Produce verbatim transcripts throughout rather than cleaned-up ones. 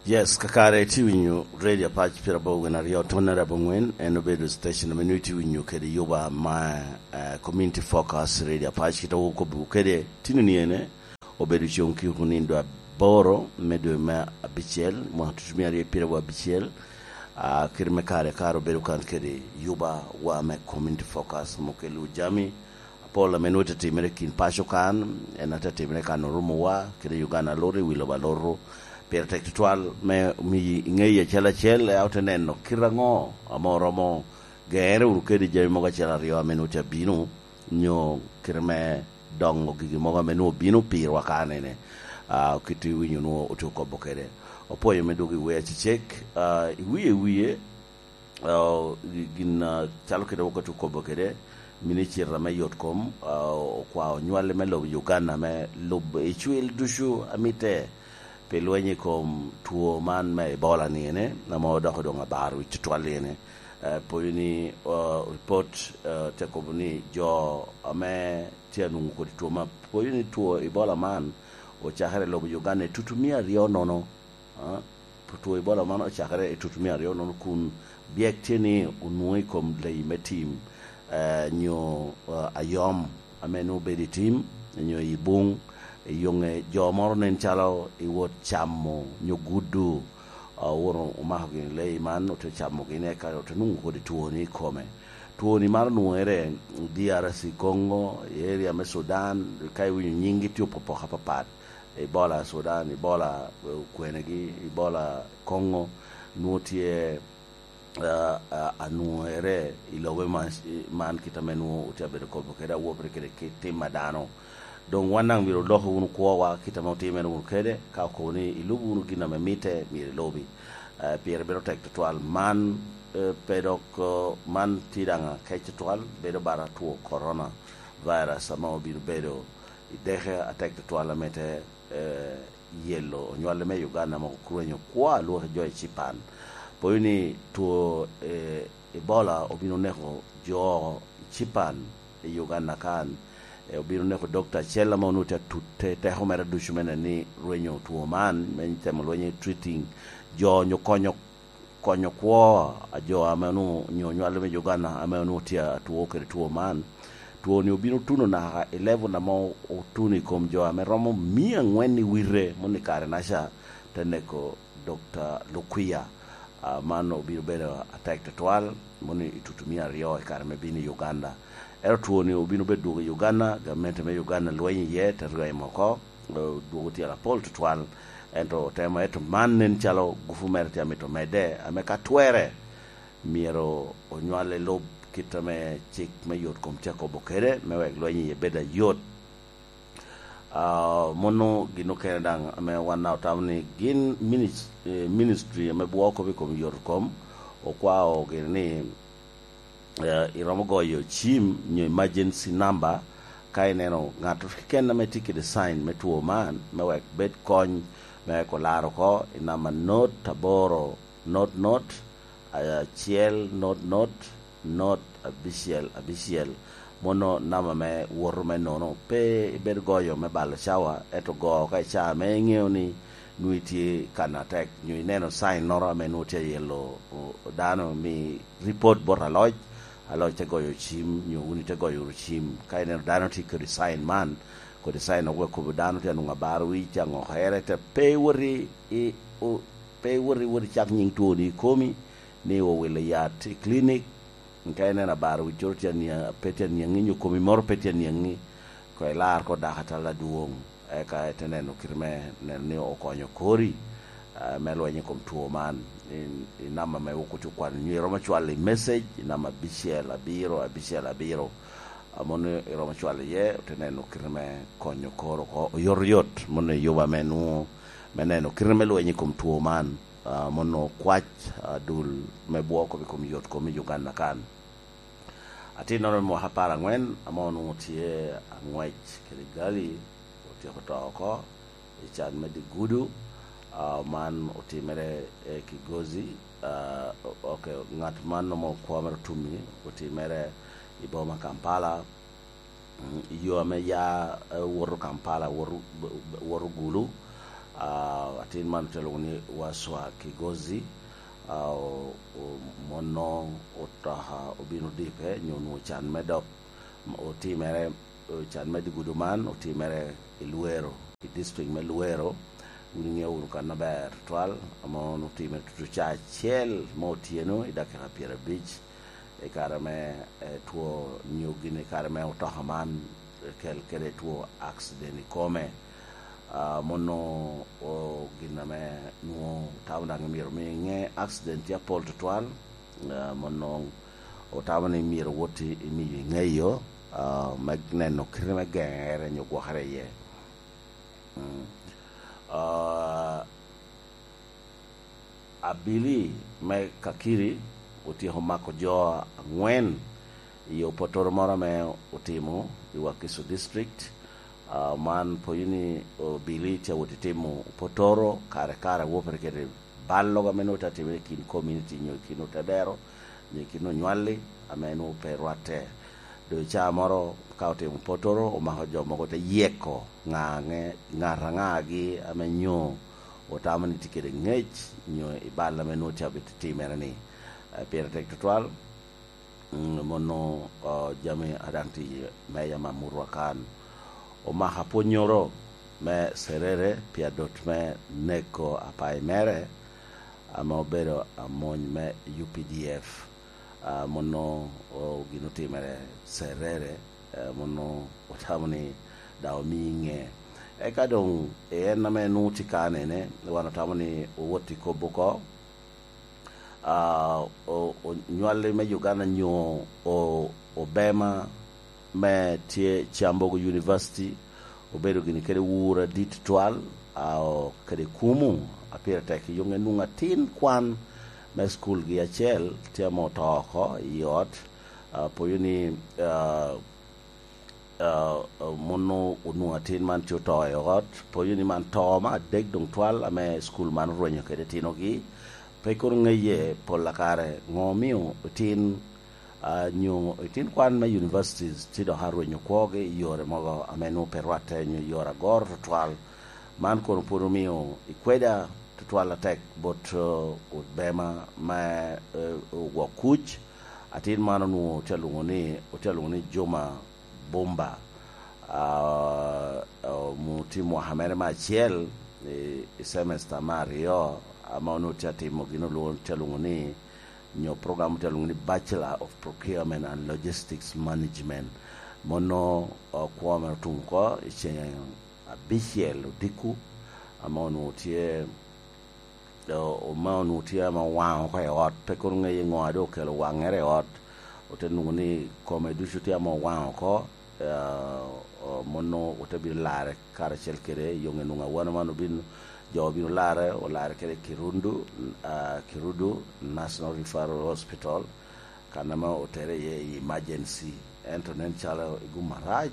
Yes, kakare itye winyo Radio Apac pira bo gin aryo tonne rabo ngwen, en obedo station ame nyo itye winyo kede yuba ma, eh, Community Focus Radio Apac, kita wo kobo kede tino ni ene, obedo cong ki kunindo aboro me dwe me abicel, mwaka tutu mia aryo pira bo abicel, ah, kiri me kare kare obedo kan kede yuba wa me Community Focus, mukelu jami, Apol ame nwoŋo te timere i kin paco kan, en ate timere kan orumo wa, kede Uganda loro i wi lobo aloro. Pire tek tutwal me miyi iŋeyi acel acel, ea ote neno kite aŋo ame oromo gere wunu kede jami mogo acel aryo ame nwoŋo te bino, nyo kite me doŋo gigi mogo ame nwoŋo bino pirwa kanene. Ah, kit iwinyo nwoŋo otye okobo kede. Opwoyo me dwogo i wer acecek, ah, i wie i wie, ah, gi-, gin, ah, calo kede wok atye okobo kede, minicita me yot kom, ah, okwao nywali me lobo Uganda me lub icwil ducu amite pi lweny i kom two man me Ebola ni ene, ame odoko doŋ abaro wi tutwal ni ene. Eh, poyo ni, ah, report, ah, te kobo ni jo ame tye anwoŋo kodi two man, poyo ni two Ebola man ocakere i lobo Uganda i tutu mia aryo nono. Ah, two Ebola man ocakere i tutu mia aryo nono kun byek tye ni onwoŋo i kom leyi me tim, eh, nyo, eh, ayom ame nwoŋo obedo i tim, nyo i buŋ, i yoŋe jo moro nen calo i wot camo nyo gudo, ah, owoto omako gini leyi man, ote camo gini, eka ote nwoŋo kodi twoni i kome. Twoni man onwoŋere i D R C Congo, i area me Sudan, ka iwinyo nyinggi tye opopoko apapat. Ebola Sudan, Ebola, eh, okwenegi, Ebola Congo, nwoŋo tye, ah, ah, anwoŋere i lobe man, man kit ame nwoŋo otye abedo kobo kede awopere kede kit tim a dano. Doŋ wan daŋ myero oloko wunu kwowa kit ame otimere wunu kede, ka okobo ni ilubo wunu gin ame mitte, myero ilubi. Eh, pire bedo tek tutwal. Man, eh, pe dok, eh, man tye daŋ akec tutwal, bedo bara two corona virus ame obino bedo i deke atek tutwal ame te, eh, yelo onywale me Uganda mogo kurwenyo kwo alwok jo i Cipan. Poyo ni two, eh, Ebola obino neko jo i Cipan i Uganda kan. Eh, obino neko dokta acel ame onwoŋo tye atut te-, teko mere ducu me neno ni rwenyo two man, me temo lwenyo i treating jo nyo konyo konyo kwo a jo ame onwoŋo, nyo nywale me Uganda ame onwoŋo tye atwo kede two man. Two ni obino tuno naka i level ame otuno i kom jo ame romo mia angwen i wite, moni kare naca te neko Dokta Lukwia. Ah, man obino bedo atek tutwal, moni i tutu mia aryo i kare me bino i Uganda. Ento two ni obino bedo dwogo i Uganda, gamente me Uganda lweny iye, te rwemo oko, eh, dwogo tyel apol tutwal. Ento otemo, ento man nen calo gufu mere tye amito medde, ame ka twere, myero onywale lub kit ame cik me yot kom tye akobo kede, me wek lweny iye bed ayot. Ah, mono gin okene daŋ ame wan daŋ otamo ni gin minis-, eh, ministry ame bwoko kop i kom yot kom, okwao gini ni, eh, iromo goyo cim nyo emergency number ka ineno ŋat keken ame tye kede sign me two man, me wek bed kony, me wek olar oko i namba not aboro not not, acel not not, not abicel abicel. Mono namba me woto me nono. Pe ibed goyo me balo cawa, ento go ka i caa ame iŋeo ni nwoŋo itye kan atek, nyo ineno sign noro ame nwoŋo tye ayelo, o-, dano, mi report bot aloc, aloc te goyo cim, nyo wun ite goyo wunu cim. Ka ineno dano tye kodi sign man, kodi sign ogwek kobo dano tye anwoŋo abaro wic, aŋokere, te pe iwoti i, o-, pe iwoti, iwoti cak nyiŋ twoni i komi, ni owilo yat i clinic, ka ineno abaro wiccoro tye aniaŋ, pe tye aniaŋi, nyo komi moro pe tye aniaŋi, ko ilar ko dako atal adwoŋ, eka ite neno kite me neno ni okonyo kori, ah, me lweny i kom two man. I, i namba me wok otye okwano nyo iromo cwalo i message, i namba abicel abiro, abicel abiro. Ah, mono iromo cwalo iye, ote neno kite me konyo koro oko oyotoyot, mono i yuba me nwoŋo, me neno kite me lweny i kom two man. Ah, mono kwac, ah, dul me bwoko i kom yot kom i Uganda kan. Atinnoro me mwaka apar angwen, ame onwoŋo tye aŋwec kede gali, otyeko to oko i can me dye gudo. Ah, man otimere, eh, Kigozi. Ah, o-, ok, ŋat man romo kwo mere otumi, otimere i boma Kampala. Mm, i yo ame ya, eh, woto Kampala, woto, woto Gulu. Ah, Tin man te lwoŋo ni Waswa Kigozi, a, o-, o-, mono otoka obino dipe, nyo onwoŋo can me dok otimere, can me digudu man otimere i Luweero, i district me Luweero. Wun iŋeo wunu kan aber tutwal, ame onwoŋo otimere tutu ca acel me otyeno i dakika pyerabic. I kare me, eh, two nyo gin i kare me otoka man, eh, kel kede two accident i kome. Ah, mono o gin ame nwoŋo tamo daŋ myero mi ŋe accident tye apol tutwal. Ah, mono otamo ni myero wot i, i miyo i ŋeyo, ah, me neno kite me geŋere nyo gwokere iye. Mm. Ah, Abili me Kakiri otyeko mako jo aŋwen i opotoro moro ame otimo i Wakiso District. Ah, man poyo ni Obili tye awot i timo opotoro kare kare, wopere kede ballogo ame nwoŋo tye atimere i kin community nyo i kin otedero nyo i kin onywalli ame nwoŋo pe rwatte. Doŋ caa moro ka otimo potoro, omako jo mogo te yeko ŋa ŋe-, ŋat aŋagi ame nyo otamo ni tye kede ŋec nyo i bal ame nwoŋo tye abit timere-ni. Eh, pire tek tutwal, mm, mono, oh, jami a daŋ tye i meja me amutwa kan. Omako apwonnyoro me Serere pi adot me neko apayi mere, ame obedo amony me U P D F. Ah, mono, oh, gin otimere Serere, eh, mono otamo ni daŋ omii ŋe. Eka doŋ en ame nwoŋo tye kanene, wan otamo ni owot i kop oko. Ah, o-, onywalli me Uganda nyo o-, obema me tye Kyambogo University obedo gini kede wuro adit twal, ah, o-, kede kumu, a pire tek i yoŋe nwoŋo atin kwan me school gi acel tye ame oto oko i ot, ah, poyo ni, ah, ah, ah, mono onwoŋo atin man tye oto i ot, poyo ni man to me adek doŋ twal ame school man orwenyo kede tinogi. Pe kono ŋeye pol a kare ŋo omio otin, ah, nyo otin kwan me universities tye dok arwenyo kwogi i yore mogo ame nwoŋo pe rwatte nyo i yore agoro tutwal. Man kono pwod omio ikweda tutwal atek bot, eh, obema me, eh, ogwok kuc. Atin man onwoŋo otye alwoŋo ni, otye alwoŋo ni Juma Bumba. Ah, ah, mu-, tye mwaka mere me acel i, i semester me aryo, ame onwoŋo tye atimo gin olwoŋo, tye alwoŋo ni, nyo program tye alwoŋo ni Bachelor of Procurement and Logistics Management. Mono, ah, kwo mere otum oko i ceŋ abicel odiko, ame onwoŋo tye, o-, ome onwoŋo tye ame owaŋ oko i ot, pe kono ŋeye ŋo a doŋ okelo waŋŋere i ot, ote nwoŋo ni kome ducu tye ame owaŋ oko, eh, o-, mono ote bino larre karacel kede yoŋe nwoŋo awano man obin, jo obino larre, olarre kede Kirundu, ah, Kirudu National Referral Hospital, kan ame otere iye i emergency. Ento nen calo i gum arac,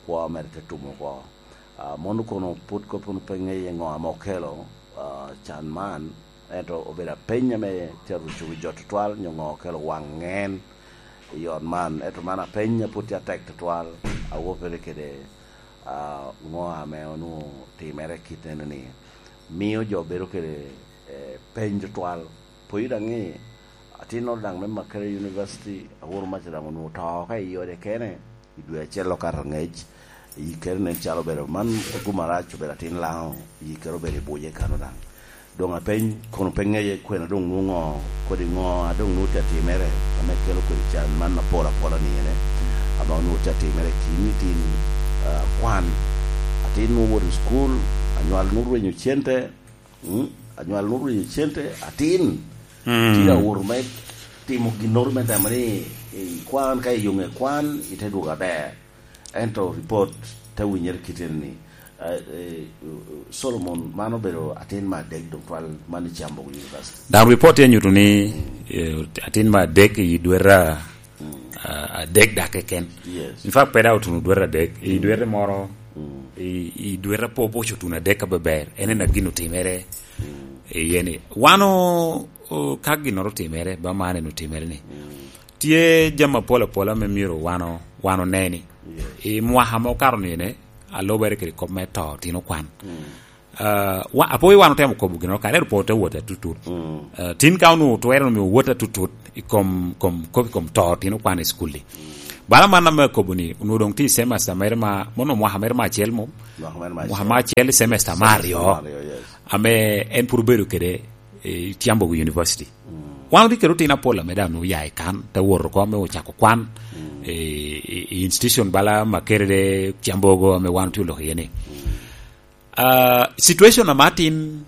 kwo mere te tumo oko. Ah, mono kono pwod kop kono pe ŋeye ŋo ame okelo, ah, can man, ento obedo apeny ame tye aruco wi jo tutwal, nyo ŋo okelo waŋ ŋen i ot man. Ento man apeny a pwod tye atek tutwal, awopere kede, ah, ŋo ame onwoŋo timere kit enoni. Mio jo bedo kede, eh, peny tutwal. Poyo daŋ ni, atinnoro daŋ me Makerere University, Aworo Maca daŋ onwoŋo oto oko i ode kene, i dwe acel okato angec, yikkere nen calo obedo man, gum arac obedo atin Laŋo, yikkere obedo i buce kano daŋ. Doŋ apeny, kono pe ŋeye kwena doŋ nwoŋo, kodi ŋo a doŋ nwoŋo tye atimere, ame kelo kodi can man apol apola ni ene, ame onwoŋo tye atimere tin i tin, ah, kwan. Atin nwoŋo woto i cukul, anywal nwoŋo rwenyo cente, mm, anywal nwoŋo rwenyo cente, atin. Mm. Tye awoto me timo ginnoro me temo ni, eh, kwan ka iyoŋe kwan, ite dwogo aber. Ento ripot te winyere kite ni, eh, eh, Solomon, man obedo atin me adek doŋ twal man i Kyambogo University. Daŋ ripot tye nyuto ni, eh, atin me adek i dwera, ah, adek dak keken. Yes. In fact, pe daŋ otuno dwera adek. I dwere moro, i, i dwera po boco otuno adek ka beber. En en a gin otimere. Iye ni, wan o-, o-, ka ginnoro otimere, ba man en otimere ni. Tye jami apol apola ame myero wan o-, wan oneni. Yes. I mwaka ma okato ni ene, alubere kede kop me to tino kwan. Mm. Ah, wa-, apoyo wan otemo kobo gino, kare ero pe ote wot atutut. Mm. Ah, tin ka onwoŋo twero miyo wot atutut i kom, kom, kop i kom to, tin okwan i skul-li. Bala man ame akobo ni, onwoŋo doŋ tye i semester mere ma, mono mwaka mere ma acel mo? Mwaka mere ma acel. Mwaka ma acel, semester me aryo. Semester me aryo, yes. Ame en pwod obedo kede, eh, Kyambogo University. Mm. Wan otye kede otino apol ame daŋ oya i kan, te wot oko ame ocako kwan, mm, i, i, i institution bala Makerere, Kyambogo ame wan otye oloko iye ni. Mm. Ah, situation ame atin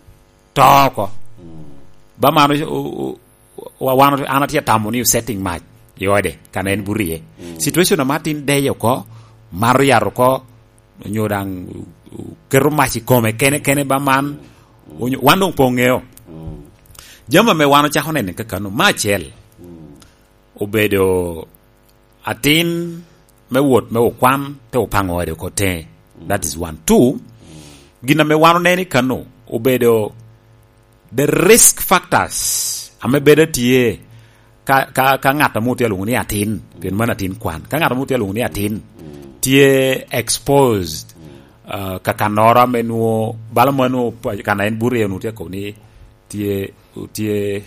to oko. Mm. Ba man o-, o-, o-, wa-, wan, an atye atamo ni osetting mac i ode, kan en buto iye. Mm. Situation ame atin deye oko, mato yat oko, onyo daŋ, o-, o-, keto mac i kome kene kene ba man, mm, onyo, wan doŋ pe oŋeo. Mm. Jami ame wan ocako neno kakano, me acel, mm, obedo atin me wot me okwan, te opaŋo ode oko teŋe. That is one. Two, gin ame wan oneno i kano obedo the risk factors ame bedo tye ka, ka, ka ŋat ame otye alwoŋo ni atin, pien mano atin kwan. Ka ŋat ame otye alwoŋo ni atin tye exposed, uh, ka kannoro ame nwo, bala ma nwo pa-, kan en buto iye, nwo tye akobo ni tye, tye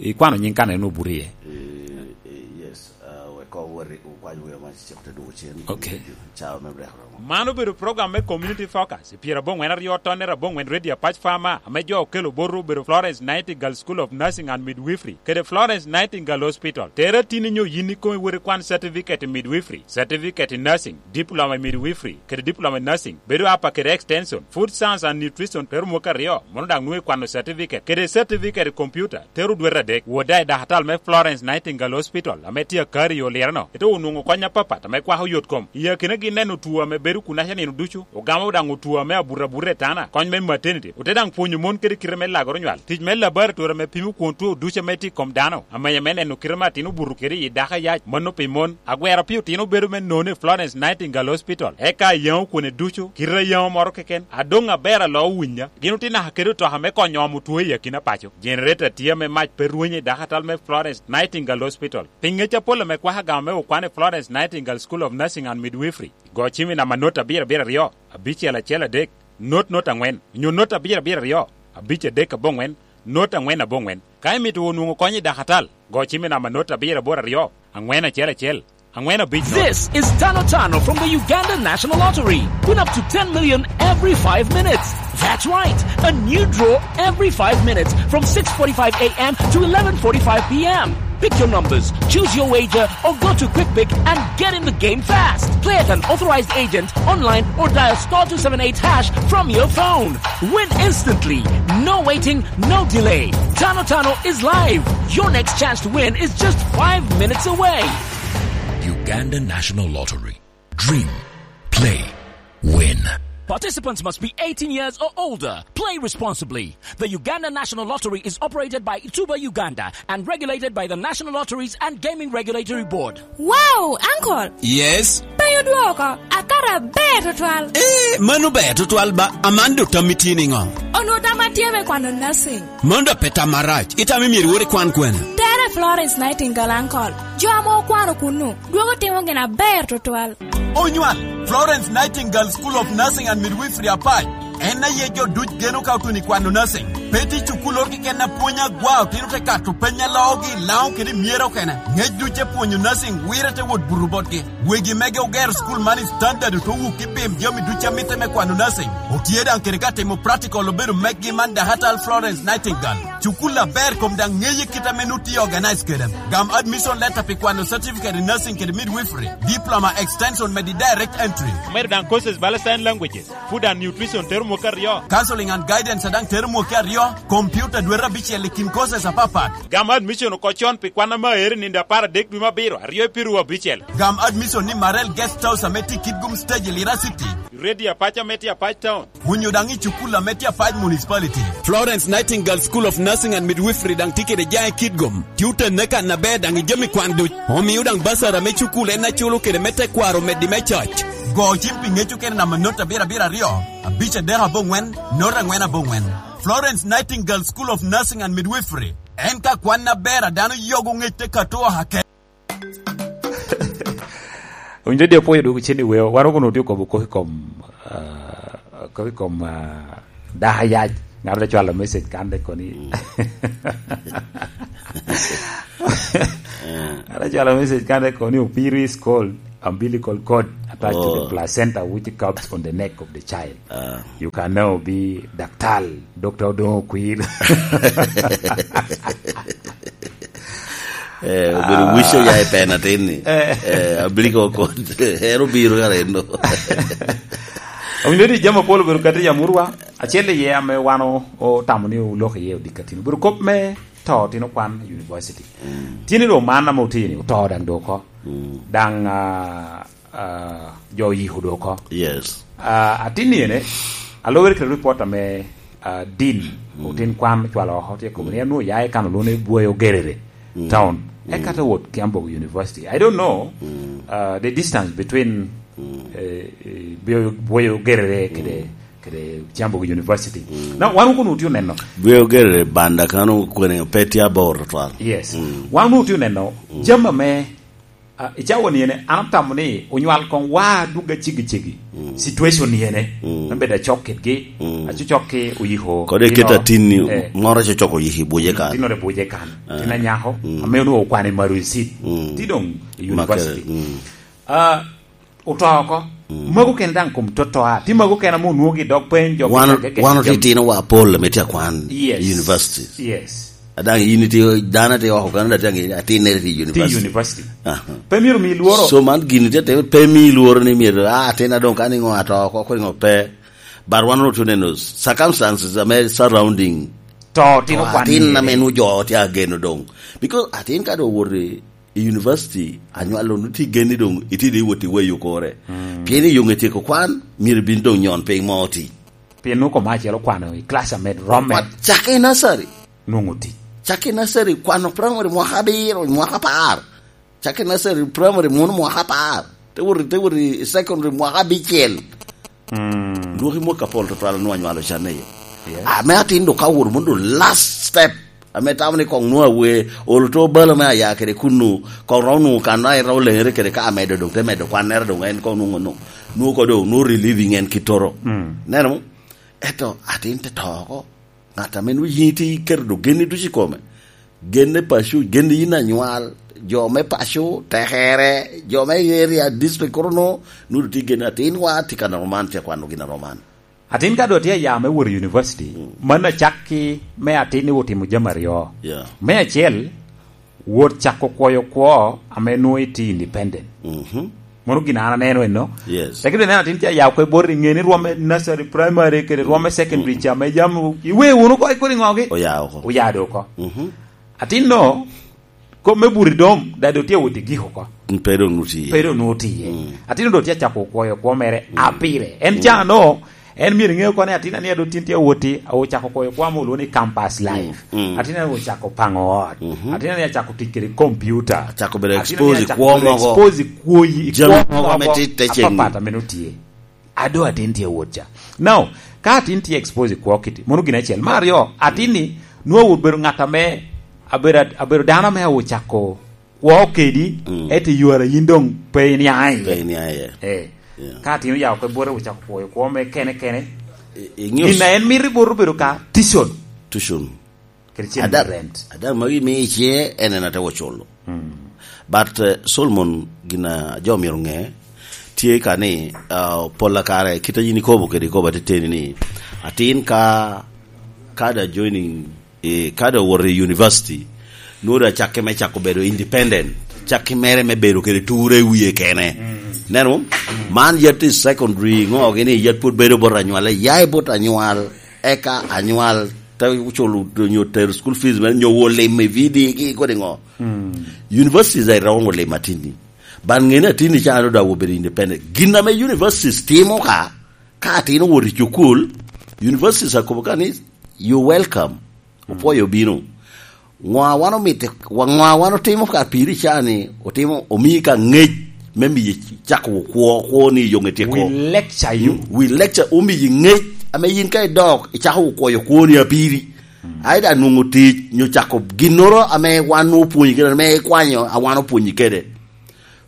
Ikwano nying kan en obuto iye? Eh, eh, yes. Ah, wek koŋ wot i, okwany weo ma cik te dwogo cen. Ok. Cawa me brek oromo. Man obedo program me Community Focus, i pyerabongwen aryo tonne abongwen Radio Apac Farmer, ame jo okelo botwu obedo Florence Nightingale School of Nursing and Midwifery, kede Florence Nightingale Hospital. Tere tin inyo yin ikomi wot ikwan certificate i midwifery, certificate i nursing, diploma i midwifery, kede diploma i nursing, bedo apa kede extension, food science and nutrition, tero mwaka aryo, mono daŋ nwoŋo ikwano certificate, kede certificate i computer, tero dwete adek. Wot daŋ i dakatal me Florence Nightingale Hospital, ame tye Akari i Olireno, ite onwoŋo kony apapat ame kwako yot kom. I akinagi neno two ame bedo kunaca nino ducu, ogamo daŋ two ame abuto abuta i tana, kony me maternity, ote daŋ pwonyo mon kede kite me lagoro nywal, tic me laboratory ame pimo kwon two ducu ame tye i kom dano, amenya me neno kite me atin obuto kede i dako ayac, mano pi mon, agwero pi otino bedo me nono i Florence Nightingale Hospital, eka ayaŋo kwone ducu, kite ayaŋo moro keken, adoŋ aber alo owinya. Gin otye naka kede otoka me konyo omo two i akina paco. Generator tye ame mac pe rwenyo i dakatal me Florence Nightingale Hospital. Pi ŋec apol ame kwako agama me okwan i Florence Nightingale School of Nursing and Midwifery, go cim i namba not abiro abiro aryo, abicel acel adek, not not angwen, onyo not abiro abiro aryo, abic adek aboŋwen, not angwen aboŋwen. Ka imito onwoŋo kony i dakatal, go cim i namba not abiro aboro aryo, angwen acel acel, angwen abic not. This is Tano Tano from the Uganda National Lottery. Win up to ten million every five minutes. That's right, a new draw every five minutes from six forty-five a m to eleven forty-five p m. Pick your numbers, choose your wager, or go to QuickPick and get in the game fast. Play at an authorized agent, online, or dial star two seven eight hash from your phone. Win instantly. No waiting, no delay. Tano Tano is live. Your next chance to win is just five minutes away. Uganda National Lottery. Dream, play, win. Participants must be eighteen years or older. Play responsibly. The Uganda National Lottery is operated by Ituba Uganda and regulated by the National Lotteries and Gaming Regulatory Board. Wow, uncle! Yes? Pe odwoko, akato aber tutwal. Eh, mano ber tutwal ba, Amanda, tammi tye niŋo? Onwoŋo tamma tye me kwano nursing. Mano dok pe tam marac, itamo myero iwot ikwan kwene? Tere Florence Nightingale, uncle. Jo ame okwano kunnu, dwogo timo gin aber tutwal. Onywal, Florence Nightingale School of Nursing and Midwifery Apac. En aye jo duc geno ka otuno i kwano nursing. Pe tye cukulloro keken a pwony agwa, otino te kato peny a loogi i Laŋo kede i Myero okene. Ŋec duc te pwonyo nursing wire te wot buto botgi. Wegi mege ogero cukul man i standard, ote wuk i pim jami duc a mitte me kwano nursing. Otye daŋ kede ka timo practical obedo mekgi man dakatal Florence Nightingale. Cukul aber kom daŋ ŋeye kit ame nut tye organize kede. Gam admission letter pi kwano certificate in nursing kede midwifery, diploma extension medi direct entry. Omedo daŋ courses bala sign languages, food and nutrition tero mwaka aryo. Counseling and guidance daŋ tero mwaka aryo, computer dwete abicel i kin courses apapat. Gam admission oko con pi kwan ame aero i nino apar adek dwe me abiro, aryo i piru abicel. Gam admission ni Marel Guest House ame tye i Kitgum Stage i Lira City. Radio Apac ame tye Apac Town. Onyo daŋ i cukul ame tye Apac Municipality. Florence Nightingale School of Nursing and Midwifery daŋ tye kede jaŋ i Kitgum. Tye otenne kan aber daŋ i jami kwan duc. Omio daŋ basara me cukul en aculo kede me tekwaro omeddi me coc. Go cim pi ŋec okene namba not abiro abiro aryo, abic adek aboŋwen, not angwen aboŋwen. Florence Nightingale School of Nursing and Midwifery. En ka kwan aber a dano yogo ŋec te kato oha kede. Owinjo di opwoyo dwogo cen i weo, wan okono otye okobo kok i kom, ah, kok i kom, ah, Daka yac, ŋat te cwalo message kan te koni. Ŋat te cwalo message kan te koni, "Opiri is called umbilical cord attached to the Oh. placenta which cups on the neck of the child. Ah. You can now be daktal, Doctor Odongo Kwir." Eh, obedo wic oya i pen atin ni. Eh. Eh, abliko kod, ero biro ka rendo. Omiyo di jami apol obedo kati ya murwa. Acel iye ame wan o-, otamo ni olok iye odi katino. Obedo kop me to tino kwan i university. Mm. Tye ni ro man ame otye ni oto daŋ do oko. Mm. Daŋ, ah, ah, jo oyiko do oko. Yes. Ah, atin ni ene, alobere kede report ame, ah, din, Mm. otin kwan ocwalo oko, tye kome ni Mm. anwo ya i kan olune bwoyo gerere Mm. town. Mm. Eka te wot Kiambogo University. I don't know, Mm. uh, the distance between, Mm. eh, eh, Bwoyo, Bwoyo Gerere kede, Mm. kede Kiambogo University. Mm. Na, wan okunu otye oneno. Bwoyo Gerere banda kano kwene pe tye abor twal. Yes. Mm. Wan okunu otye oneno, Mm. jami ame, ah, i cawa ni ene, an atamo ni onywal kong wa dugga cegi cegi. Mm. Situation ni ene, Mm. me bedo acok kedgi, Mm. acocok ki oyiko, Kodi you know, eketa tin ni eh. moro cocok oyiko i buce kan. Tinore buce kan. Ah. Tin anyako, Mm. ame onwoŋo okwano i Maru Seed. Mm. Ti doŋ i Makere, university. Mm. Ah, oto oko. Mm. Mago kene daŋ kom toto a. Ti mago kene ame onwoŋo gi dog peny, jo Wan, piny agege wan jam- otitino wa apol ame tye akwan Yes. i university. Yes. Adaŋ in itye, dano tye oko Canada, tye aŋe, atin nere tye i Ti university. university. Aha. Pe myero mi lworo. So man gini tye teme, pe mi lworo ni myero, ah, atin adoŋ ka ni ŋo ato oko, kodi ŋo pe. But wan otye neno circumstances ame surrounding To tino To kwan atin ni ame ene. nu jo tye ageno doŋ. Because atin ka doŋ owoto i, i university, anywalo nu tye geni doŋ itye doŋ iwot i weyo kore. Mm. Pien i yoŋe tyeko kwan, myero bin doŋ nyon piny mo oti. Pien nu koma acel okwano i class ame romme. Wa-, cak i nursery. Nwoŋo tic. Cak i nursery, kwano primary mwaka abiro, mwaka apar. Cak i nursery, primary, mwono mwaka apar. Te wot, te wot i secondary mwaka abicel. Mm. Dwoki mwaka apol tutwal nwa nywalo can eyo. Yes. Ame atin do ka wot mondo last step. Ame tamo ni kong nwa we, olo to balo me aya kede kunu, kong rom nu kan na ero lengere kede ka amedo doŋ, te medo kwan nere doŋ en kong nwoŋo no. Nwoŋo ko doŋ, nwoŋo relieving en kitoro. Mm. Neno mo? Eto atin te to oko. Ŋat ame nwoŋo yin itye iketo do geni ducu i kome. Genne paco, genne yin anywal, jo me paco, tekere, jo me area district kono no, nwoŋo tye genne atin wa tye ka neno man, tye kwano gin aroman. Atin ka doŋ tye aya me wot i university, Mm. man acakki me atin ni otimo jami aryo. Yeah. Me acel, wot cako kwoyo kwo ame nwoŋo itye independent. Mhm. Mano gin an aneno eno. Yes. Lakini neno atin tye aya kwe bot i ŋe ni rwom me nursery, primary, kede rwom me secondary Mm. ca, me jam, iwe wunu oko, ikodi ŋogi? Oya oko. Oya do oko. Mhm. Atin no, kop me buri dom, da do tye wot i giko oko. Pe do nu tiye. Pe do nu tiye. Mm. Atin do tye cako kwoyo kwo mere Mm. apire. En Mm. ca no, en myero iŋe oko ni atin ania do tin tye woti, ocako kwoyo kwo ame olwongo ni campus life. Mm. Mm. Atin ania ocako pango ot. Mhm. Atin ania ocako tic kede computer. Acako bedo Atin expose ania i acako kwo bedo mogo. Expose i kwo i Jami kwo mogo ame mogo tye te ceng. Apapat ame notye. Ado atin tye wot ca. Now, ka atin tye expose i kwo kiti, mono gin acel. Mar aryo, atin ni, nwa wot bedo ŋat ame, abedo, abedo dano ame ocako kwo kedi, Mm. ete ywara yin doŋ pe iniaŋ iye. Pe iniaŋ iye. Eh. Yeah. Ka atin oyao kwe bote ocako kwoyo kwo me kene kene. I, i news. Gin a en mito i bote obedo ka tuition. Tuition. Kede cen Ada, rent. Ada magi mi ice en en ate oculo. Mm. But, eh, Solomon gin a jo myero ŋe, tye ka ni, ah, pol a kare, kit a yin ikobo kede ikobo ateteni ni, atin ka, ka da joining, eh, ka da owoto i university, nwoŋo da cakke me cako bedo independent, cakke mere me bedo kede ture i wie kene. Mm. Neno? Mm. Man yat i secondary, ŋo gini yat pwod bedo bot anywal, ya i bot anywal, eka anywal, te culo nyo tero school fees mere, nyo wo lim i V D gi kodi ŋo. Mm. Universities are wrong lim atini. Ban ŋene atini ca ado da wo bedo independent. Gin ame universities timo ka, ka atino wot i cukul, universities akobo ka ni, "You welcome." Opwoyo obino. Ŋo a wan omito, wa-, ŋo a wan otimo ka piri ca ni, otimo, omii ka ŋec me miyo cako kwo, kwo ni yoŋe tye We ko. Lecture you. Mm, we lecture, omii ŋec, ame yin ka idok, icako kwoyo kwo ni apiri. Mm. Ai da nwoŋo tic, nyo cako ginnoro ame wan opwonyi kede, ame ikwanyo, a wan opwonyi kede.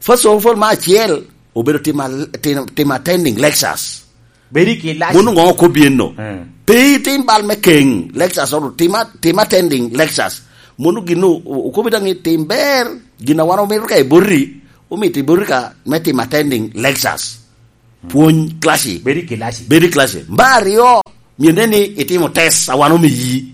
First of all, me acel, obedo timo, timo, timo attending lectures. Bedo i kilaci. Mono ŋo okobbi enno? Eh. Pe itim bal me keŋ lectures, oro tim a-, tim attending lectures. Mono gin o-, o-, okobbi daŋ i tim ber, gin a wan omito ka i boti, omito i boti ka me tim attending lectures. Pwony class. Bedo i kilaci. Bedo i class. Me aryo, myero nen ni itimo test a wan omiyi.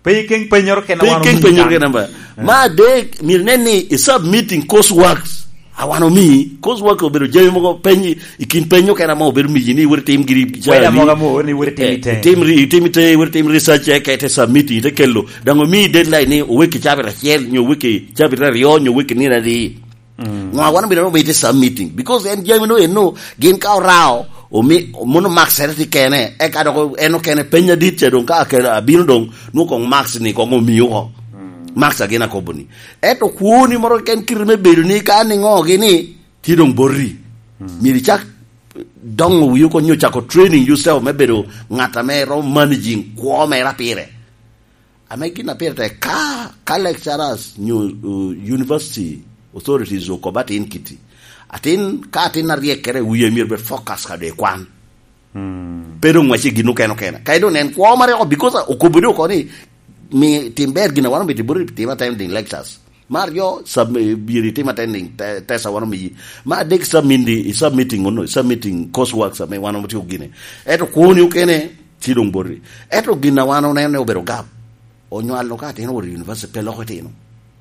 Pe ikeŋ pennyoro kena. Pe wan ikeŋ omiyi pennyoro kan. Kena ba. Eh. Me adek, myero nen ni i submitting course works a wan omiyi. Course work obedo jami mogo penyi, i kin penyo kena ma obedo miyi ni iwot itim giri. Weda mogo amo ni iwot itim. Eh, ite. Itim ri-, itim ite, iwot itim research, eh, ka ite submit, ite kelo. Daŋ omiyi deadline ni oweki cabit acel, nyo oweki cabit aryo, nyo oweki nino adi. Mm. Ŋo a wan omito, omito i submitting? Because en jami no eno, gin ka orao, omi-, mono marks ere tye kene, eka dok en okene peny adit ca doŋ ka akelo abino doŋ, nwoŋo koŋ marks ni koŋ omi oko. Mm. Marks a gin akobo ni. Ento kwoni moro keken kite me bedo ni ka ni ŋo gini, tye doŋ boti. Mm. Myero icak doŋo wi oko nyo cako training yourself me bedo ŋat ame romo managing kwo mere pire. Ame gin a pire tek, ka, ka lecturers nyo, uh, university authorities okobo atin kiti, atin, ka atin aryek kere, wie myero bed focus ka doŋ i kwan. Hmm. Pe doŋ wac i gin okene okene. Ka doŋ nen kwo mare oko, because okobo doŋ oko ni, mi tim ber gin a wan omito boti tim attending lectures. Me aryo, sub-, myero itim attending te-, test a wan omiyi. Me adek, submit-, i submitting ono, submitting coursework ame wan omito gine. Ento kwoni okene, ci doŋ boti. Ento gin a wan oneno ni obedo gap, onywalo ka atin owot i university, pe loko itino.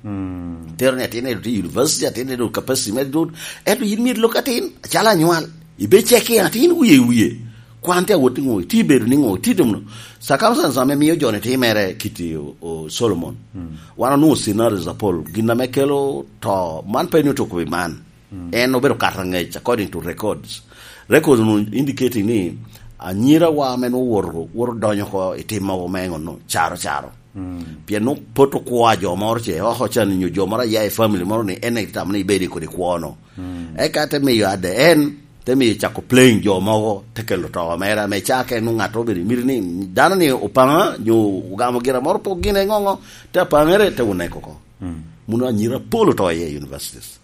Mm. Tero ni atin eno tye i university, atin eno capacity me dut. Ento yin myero ilok atin, acalo anywal. Ibe check in atin wie i wie. Kwan tye awot i ŋo, itye bedo ni ŋo, itye timo. Circumstance ame mio joni timere kiti o, o Solomon. Mm. Wan onwoŋo scenarios apol. Gin ame kelo to, man pe ni otuko pi man. Mm. En obedo kato angec according to records. Records nu indicating ni anyirawa ame nwoŋo woto, woto donyo oko i tim mogo me ŋo no, caro caro. Mm. Pien nwoŋo pot okwo a jo moro ce, oko can nyo jo moro aya i family moro ni en itamo ni ibedo i kodi kwo no. Mm. Eka te miyo ade en, te miyo cako playing jo mogo, te kelo to mere, ame ca ka en nwoŋo ŋat obedo i miti ni dano ni opaŋa, nyo ogamo gira moro pok gin eŋoŋo, te apaŋere, te oneko oko. Mm. Mono anyira pol oto iye i universities.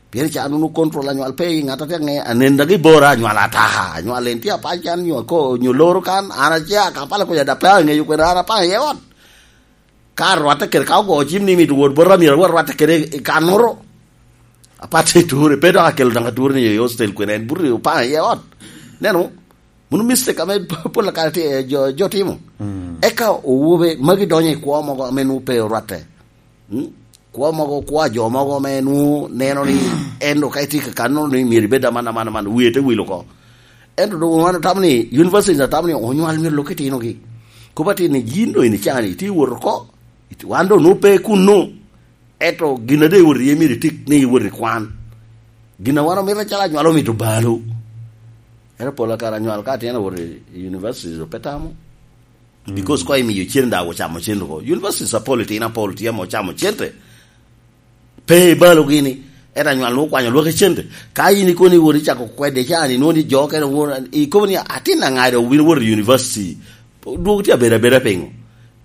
Pien ca nunu control anywal pe i ŋat atek ni anen dagi bora anywal ataka. Anywal en tye apac kan nyo ako nyo loro kan, an ace a Kampala kuca da pe aŋeyo kwene an apaŋ iye ot. Ka rwatte kede ka ogo cim ni mito wot bota myero awot rwatte kede i kannoro. Apat i ture, pe dok akelo dok ature ni i hostel kwene en buto opaŋ iye ot. Neno, mono mistake ame pol kare tye, jo, jo timo. Mm. Eka owobe magi donyo i kwo mogo ame nwoŋo pe orwatte. Mm? Kwo mogo, kwo a jo mogo ame nwoŋo neno ni en dok ka itye ka kanno ni myero ibed aman, aman, aman, wie te wil oko. Ento doŋ wan otamo ni, university otamo ni onywal myero lok itinogi. Kop atir ni, yin doŋ in icani, itye wot oko. It-, wan doŋ nwoŋo pe kunno. Ento gin a doŋ iwot iye myero itik ni iwot i kwan. Gin a wan omito acalo anywal omito balo. Ento pol kare anywal ka atin owot i, i university, pe tamo. Mm. Because koŋ imiyo cen daŋ ocamo cen oko. Universities apol itino apol tye ame ocamo cente. Pe ibalogi ni, ento anywal nwoŋo okwanyo lwaki cente. Ka in ikono iwot icako kwede ca ni, nwoŋo ni jo okene won, ikobo ni, "Atin aŋa doŋ obino wot i university? Dwog tye abedo abeda piŋo?"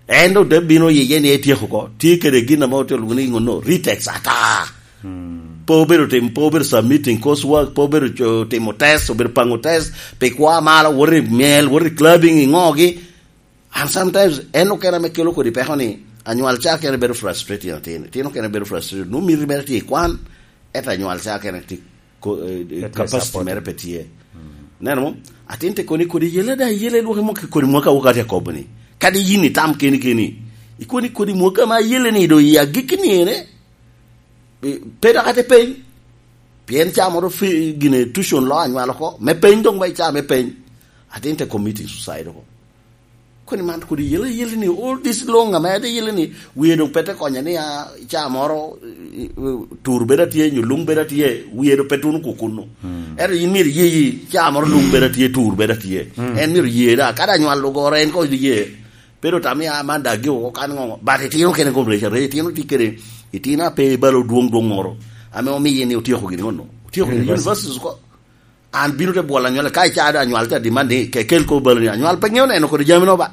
En doŋ te bino yiye ni etyeko oko. Tye kede gin ame otye lwongo ni ŋo no, retakes ata. Hmm. Pe obedo tim, pe obedo submitting coursework, pe obedo co-, timo test, obedo paŋo test, pi kwa malo, wot i myel, wot i clubbing, i ŋogi. And sometimes, en okene ame kelo kodi peko ni, anywal ca kene bedo frustrated, atin, atin okene bedo frustrated. Nwoŋo miti mere tye i kwan, ento anywal ca kene tye ko-, eh, eh, capacity mere pe tye. Mm. Neno mo? Atin te koni kodi yele da, yele lwaki mo ki kodi mwaka wok atye akobo ni. Kadi yin itam keni keni. Ikoni kodi mwaka ma yele ni do i agikki ni ene. Eh, pe dok ate peny. Pien ca moro fi-, gine tuition lo anywal oko. Me peny dong ba ica me peny. Atin te committing suicide oko. Koni man kodi yele, yele ni all this long ame ade yele ni wie dong pe te konye ni a, ca moro, i, i, tur bedo atye, nyo lung bedo atye, wie dong pe tuno kukunno. Hmm. Ento yin myero iye, iye, ca moro lung bedo atye, tur bedo atye. Hmm. En myero iye da, kadi anywal ogoro en ko iye. Pero tam ya man da gi oko kan ŋo, but itino kene kom reca, re, itino ti kede, itino a pe balo dwong dwong moro. Ame omiye ni otyeko gini ŋo no. Otyeko gini universities ko. An bino te bwolo anywal, ka ica do anywal te demand ni, ke kel ko balo ni, anywal pe ŋeo neno kodi jami no ba.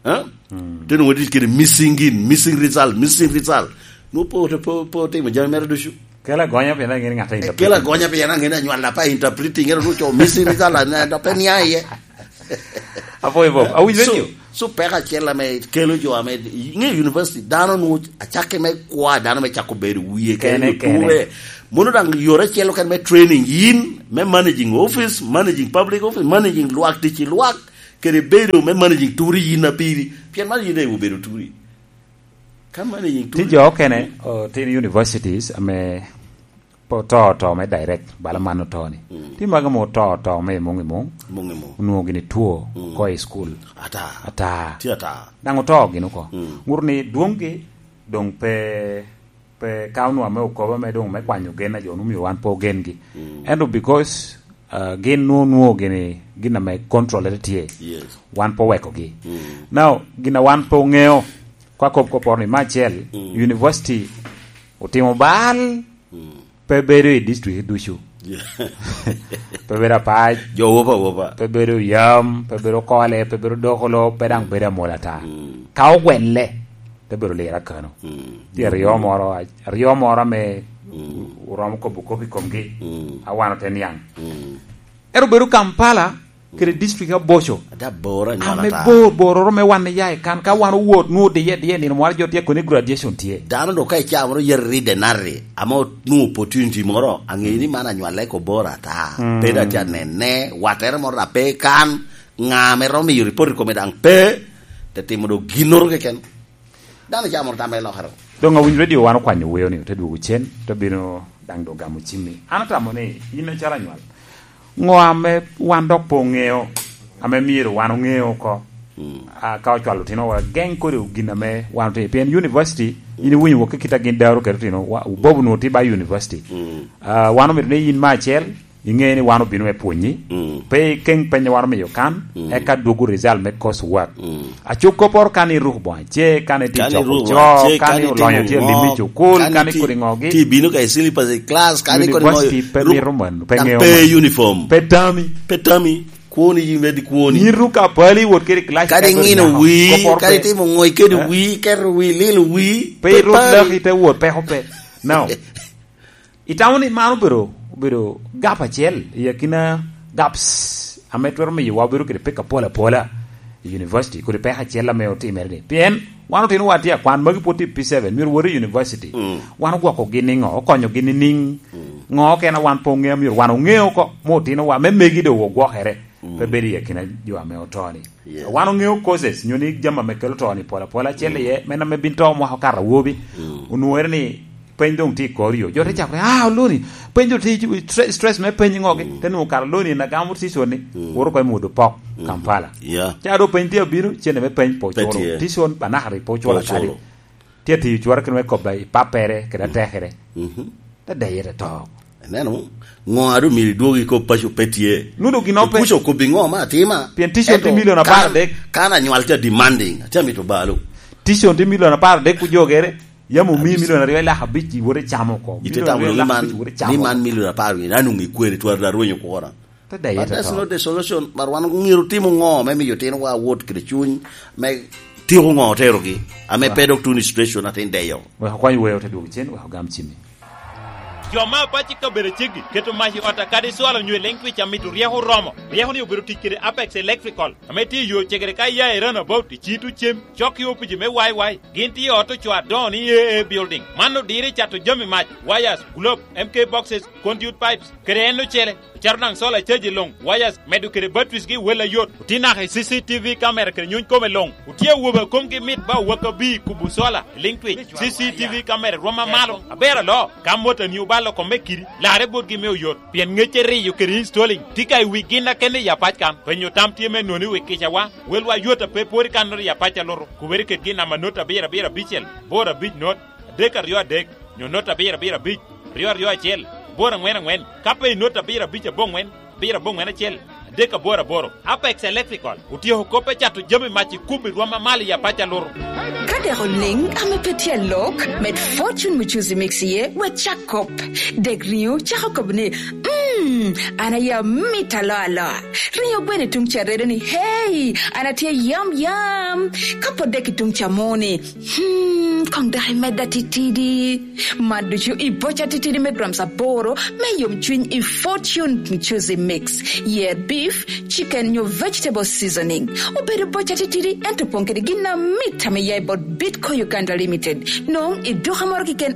Eh? Mm. Te nwoŋo tic kede missing in, missing result, missing result. Nwoŋo po, po, po timo jami mere ducu. Kela gonya pien ang'e ni ŋat a interpreting. Kela gonya pien ang'e ni anywal apa interpreting, ero nuco misi, misala, na, na pe nia iye. Apo i Bob, awinjo So, radio. So peko acel ame kelo jo ame, inge university, dano nu acakke me kwa, dano me cako bedo wie, Kene, kene, kene. Ture. Mono daŋ yore acel okene me training, yin, me managing office, managing public office, managing lwak tic i lwak, kede bedo me managing turi yin apiri. Pien man yin daŋ obedo turi. Ka managing Tye turi. Jo okene, o, tin universities ame pe oto, oto me direct, bala man oto ni. Mm. Tye magi ma oto, oto me i muŋ i muŋ. Muŋ i muŋ. Onwoŋo gini two, Mm. oko i school. Ata. Ata. Tye ata. Daŋ oto gini oko. Mm. Ŋuto ni dwoŋgi doŋ pe, pe ka onwoŋo ame okobo ame doŋ me kwanyo gen a jo onwoŋo myero wan pe ogengi. Mm. Ento because, uh, gin nwoŋo, nwoŋo gini, gin ame control tye. Yes. Wan pe owekogi. Mm. Now, gin a wan pe oŋeo, ka kop koporo ni me acel, Mm. university otimo bal, Mm. pe bedo i district ducu. Yeah. Pe bedo Apac. Jo wopa wopa. Pe bedo Yam, pe bedo Kole, pe bedo Dokolo, pe daŋ bedo Amol ata. Mm. Ka ogwelle, te bedo lira kano. Mm. Tye aryo moro, aryo moro ame Mm. oromo kobo kop i komgi. Mm. A wan ote niaŋ. Mm. Ero bedo Kampala, kede district aboco. Ada bor anywal Ame ata. Bor, bororo me wan iya i kan, ka wan owot, nwoŋo diye, diye nino mwalo jo tye koni graduation tye. Dano do ka icaa moro yet ride nari, ame onwoŋo opportunity moro, aŋeyo ni man anywal eko bor ata. Mm. Pe da tye anene, wattere moro da pe kan, ŋa ame romo miyo report i kome daŋ pe, te timo do ginnoro keken. Dano ca moro tamma i lokere. Doŋ awinyo radio wan okwanyo weo ni, ote dwogo cen, te bino daŋ doŋ gamo cimmi. An atamo ni, in acalo anywal, ŋo ame wan dok pe oŋeo, ame myero wan oŋeo oko? Mm. A, ka ocwalo otino wa, geŋ kodi gin ame wan otimo. Pien university, in iwinyo wok ki kit a gin daro kede otino, wa, Bob onwoŋo tye ba university. Mm. A, wan omito ni in me acel, Iŋeo ni wan obino me pwonyi. Mm. Pe ikeŋ peny a wan omiyo kan, Mm. eka dwogo result me course work. Mm. Acuk kopporo kan iruko boŋo ace, kan itye Kan coko iruko co, boŋo ace, kan kan itye olonyo tye ŋo, lim i cukul, kan kan itye, ikodi ŋogi. Tye bino ka i syllabus i class, kan ikodi ŋo, University pe ru-, mito man, pe daŋ ŋeo pe man. Uniform. Pe tami. Pe tami. Kwoni yin meddi kwoni. Yin ruko apali, wot kede i class Kadi ka ikodi ŋino ŋo. Wii, Kopporo kadi pe. Timo ŋo, ikedo Eh? Wii, keto wii, lilo wii, Pe pe iruk pari. Laki te wot, peko pe. Now, Itamo ni man obedo, obedo gap acel i akina gaps ame twero miyo wa obedo kede peko apol apola i university, kodi peko acel ame otimere ni? Pien wan otino wa tye akwan, magi pwod tye i P seven, myero wot i university. Mm. Wan ogwoko gi niŋo? Okonyo gi ni niŋ? Mm. Ŋo okene wan pe oŋeo, myero wan oŋeo oko, mo otino wa, me megi do ogwokere, Mm. pe bedo i akina jo ame oto ni. Yeah. Wan oŋeo causes, nyo ni jami ame kelo to ni pol apola, acel Mm. iye, men ame bin to mwaka okato awobi, Mm. onwoŋere ni peny doŋ tye i kor yo. Jo te cako ni, "Ah, Oloni, peny doŋ tye i stre-, stress me peny ŋogi." Mm. Te nwoŋo kara Oloni en agamo tison ni, Mm. woro kong imwodo pok Mm. Kampala. Yeah. Ca do peny tye abino, cene me peny po Pe culo. Tye. Tison banakari po culo Po kadi. Culo. Tye atiyo cwara kene me kobba i pappere, kede Mm. atekere. Mhm. Te deye te to. Ineno, ŋo a doŋ myero idwog i kop paco pe tye. Nudo gin ope. Kuc okobbi ŋo ma atima? Pien tison tye Ento milion apar adek. Kan, kan anywal tye demanding, atye amito balo. Tison tye milion apar adek ku jogere, yam omi Abis. Milion aryo i lak abic iwoto icamo oko. Ite Milion tamo aryo ni lak man, abic iwoto icamo ni man oko. Milion apar wiye, an onge kweri, twara da rwenyo kwora. Te deye But te that's to. Not the solution, but wan myero timo ŋo me miyo tinowa wot kede cuny, me tiko ŋo oterogi, ame Wa. Pe dok tuno i situation atin deyo. Wek okwany weo te dwogo cen, wek ogam cimmi. Jo ma apac i kabedo aceggi keto mac i ot akadi cwalo nyo i leŋ twic amito ryeko oromo. Ryeko ni obedo tic kede Apex Electrical, ame tye i yo cegere ka iya i Runabout i Cito Cem, cok i opici me Y Y. Gin tye i ot ocoo adoŋo ni A A Building. Man odiro i cato jami mac, wires, globe, M K boxes, conduit pipes, kede en ocele. Ocaro daŋ solar charge i luŋ, wires, medo kede batteries gi wel ayot. Otye naka i C C T V camera kede nyuny kome luŋ. Otye awobe a komgi mit ba owak abir kubo solar i liŋ twic. C C T V camera rwom amalo, aber aloo. Ka motani obalo kome kidi, larre botgi me oyot, pien ŋecce riyo kede installing tye ka i wi gin akene i apac kan. Penyo tam tye me noni wi kicawa, welwa yot a pe pwod i kannoro i apac alutu. Kubere kedgi i namba not abiro abiro abicel, boro abic not, adek aryo adek, nyo not abiro abiro abic, ryo aryo acel, boro aŋwen aŋwen, ka pe i not abiro abic aboŋwen, abiro aboŋwen acel, adek aboro aboro. Apex Electrical otyeko kop me cato jami mac i kubbi rwom amalo i apac alutu. Ka dek oliŋ ame pe tye alok, med Fortune Muchuzi Mix iye, wek cak kop. Dek riŋo cako kop ni, "Mm, Hmm, an aye amit aloa aloa. Ringo gweno i tuŋ ca redo ni, "Hey, an atye yam yam." Ka pwod dek i tuŋ ca moni, hmm, koŋ dok imedda titidi. Mat ducu i boca titidi me grams aboro me yomcwiny i Fortune Juicy Mix. Yer beef, chicken nyo vegetable seasoning. Obedo boca titidi, ento opoŋ kede gin amit ame ya i bot Bitco Uganda Limited. Noŋ i duka moro keken